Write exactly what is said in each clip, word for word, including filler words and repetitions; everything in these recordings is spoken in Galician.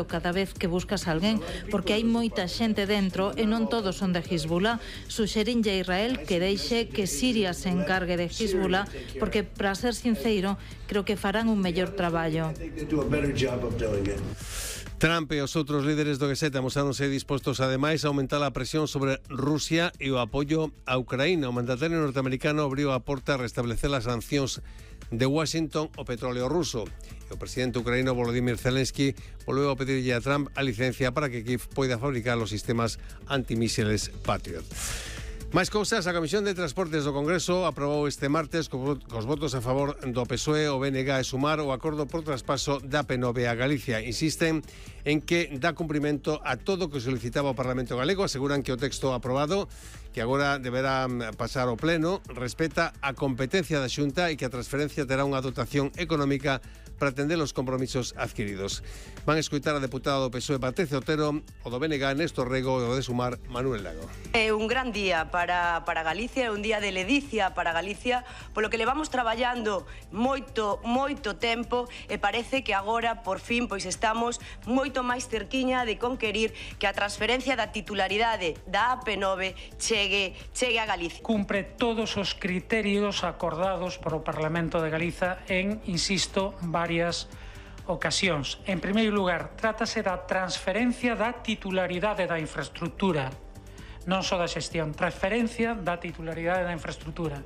cada vez que buscas a alguén, porque hai moita xente dentro e non todos son de Hezbollah. Suxerinlle a Israel que deixe que Siria se encargue de Hezbollah, porque, para ser sincero, creo que farán un mellor traballo. Trump e os outros líderes do G sete amosáronse dispostos ademais a aumentar a presión sobre Rusia e o apoio a Ucraína. O mandatario norteamericano abriu a porta a restablecer as sancións de Washington ao petróleo ruso. E o presidente ucraíno Volodymyr Zelensky volveu a pedirlle a Trump a licencia para que Kiev poida fabricar os sistemas antimísiles Patriot. Máis cousas, a Comisión de Transportes do Congreso aprobou este martes cos votos a favor do P S O E, o B N G e Sumar o acordo por traspaso da P nove a Galicia. Insisten en que dá cumprimento a todo o que solicitaba o Parlamento galego. Aseguran que o texto aprobado, que agora deberá pasar ao Pleno, respeta a competencia da Xunta e que a transferencia terá unha dotación económica para atender os compromisos adquiridos. Van a escoitar a deputada do P S O E Patricia Otero, o do B N G Néstor Rego e o de Sumar Manuel Lago. É un gran día para, para Galicia, é un día de ledicia para Galicia, polo que levamos traballando moito, moito tempo e parece que agora, por fin, pois estamos moito máis cerquiña de conquerir que a transferencia da titularidade da A P nove chegue, chegue a Galicia. Cumpre todos os criterios acordados por o Parlamento de Galiza en, insisto, varias ocasións. En primeiro lugar, trátase da transferencia da titularidade da infraestructura, non só da xestión, transferencia da titularidade da infraestructura.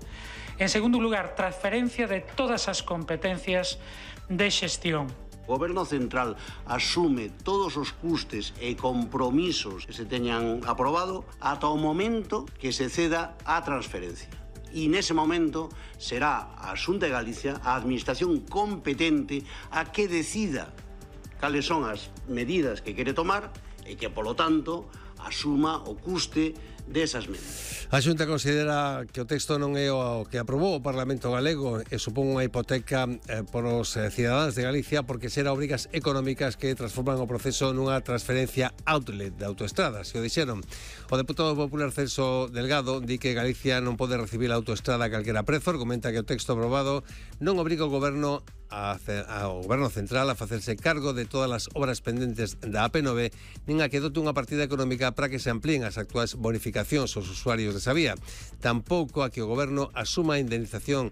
En segundo lugar, transferencia de todas as competencias de xestión. O Goberno Central asume todos os custes e compromisos que se teñan aprobado ata o momento que se ceda a transferencia. E nese momento será a Xunta de Galicia, a administración competente, a que decida cales son as medidas que quere tomar e que, polo tanto, asuma o custe desas medidas. A Xunta considera que o texto non é o que aprobou o Parlamento galego e supón unha hipoteca eh, por os eh, cidadáns de Galicia porque será obrigas económicas que transforman o proceso nunha transferencia outlet de autoestradas, se o dixeron. O deputado popular Celso Delgado di que Galicia non pode recibir a autoestrada a calquera prezo, argumenta que o texto aprobado non obriga o goberno ao Goberno Central a facerse cargo de todas as obras pendentes da A P nove nin a que dote unha partida económica para que se amplíen as actuais bonificacións aos usuarios desa vía. Tampouco a que o Goberno asuma a indemnización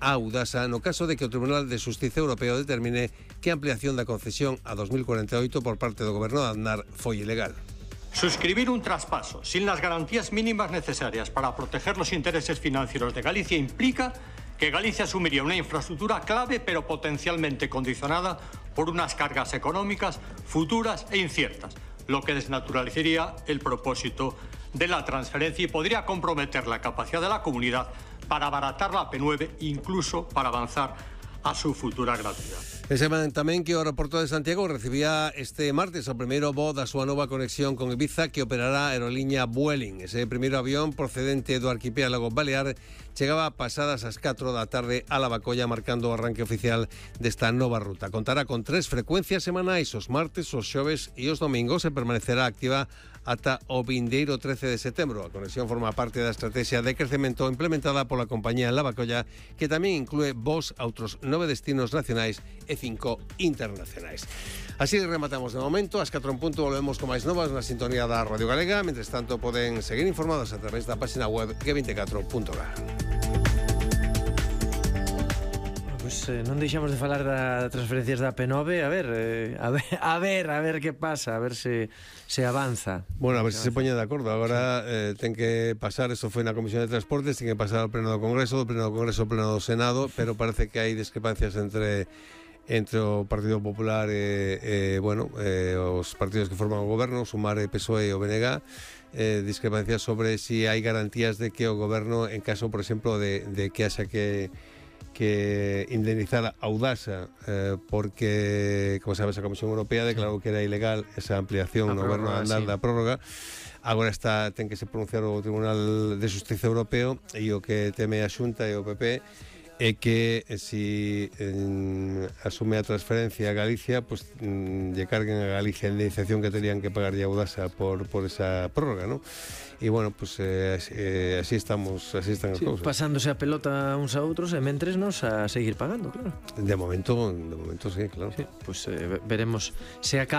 a Audasa no caso de que o Tribunal de Xustiza Europeo determine que a ampliación da concesión a dos mil cuarenta e oito por parte do Goberno de Aznar foi ilegal. Suscribir un traspaso sin las garantías mínimas necesarias para proteger los intereses financieros de Galicia implica que Galicia asumiría una infraestructura clave pero potencialmente condicionada por unas cargas económicas futuras e inciertas, lo que desnaturalizaría el propósito de la transferencia y podría comprometer la capacidad de la comunidad para abaratar la A P nueve, incluso para avanzar a su futura gratuidad. E seman tamén que o aeroporto de Santiago recibía este martes o primeiro voo da súa nova conexión con Ibiza que operará a aerolínea Vueling. Ese primeiro avión procedente do arquipélago Balear chegaba pasadas as catro da tarde a Lavacolla marcando o arranque oficial desta nova ruta. Contará con tres frecuencias semanais os martes, os xoves e os domingos e permanecerá activa ata o vindeiro trece de setembro. A conexión forma parte da estrategia de crecemento implementada pola compañía Lavacolla, que tamén inclúe voos a outros nove destinos nacionais e cinco internacionais. Así rematamos de momento. Ás catro en punto volvemos con máis novas na sintonía da Radio Galega. Mentres tanto, poden seguir informados a través da página web g veinticuatro punto g a. Pois eh, non deixamos de falar da transferencias da P nove. A ver, eh, a ver, a ver, a ver que pasa, a ver se se avanza. Bueno, a ver se se poñen de acordo. Agora eh, ten que pasar, eso foi na Comisión de Transportes, ten que pasar ao Pleno do Congreso, do Pleno do Congreso ao Pleno do Senado, pero parece que hai discrepancias entre entre o Partido Popular e, e bueno, eh, os partidos que forman o goberno, Sumar, P S O E e o B N G, eh, discrepancias sobre si hai garantías de que o goberno, en caso, por exemplo, de, de que haxa que que indemnizar a Audasa eh, porque, como sabes, a Comisión Europea declarou que era ilegal esa ampliación no goberno de andar sí. da prórroga. Agora está ten que se pronunciar o Tribunal de Xustiza Europeo e o que teme a Xunta e o P P é que eh, si eh, asume a transferencia a Galicia, pues mm, lle carguen a Galicia a indemnización que terían que pagar a Audasa por, por esa prórroga, ¿no? E bueno, pues eh, eh, así estamos, así están as sí, cousas. Pasándose a pelota uns a outros e mentres nos a seguir pagando, claro. De momento, de momento sí, claro. Sí, pues eh, veremos se acaba